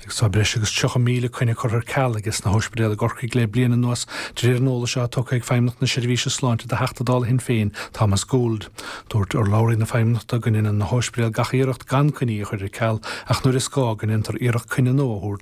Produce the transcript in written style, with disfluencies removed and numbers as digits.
Agus tá breis agus 30,000 coinne curtha ar ceal ages na hóispidéil i gCorcaigh le bliain anuas, de réir an eolais atá tugtha ag Feidhmeannacht na Seirbhíse Sláinte do Theachta Dála Shinn Féin, Thomas Gould. Dúirt urlabhraí na Feidhmeannachta go ndéanann na hóispidéil gach iarracht gan coinní a chur ar ceal ach nuair is gá go ndéantar iarracht coinne nua a thabhairt.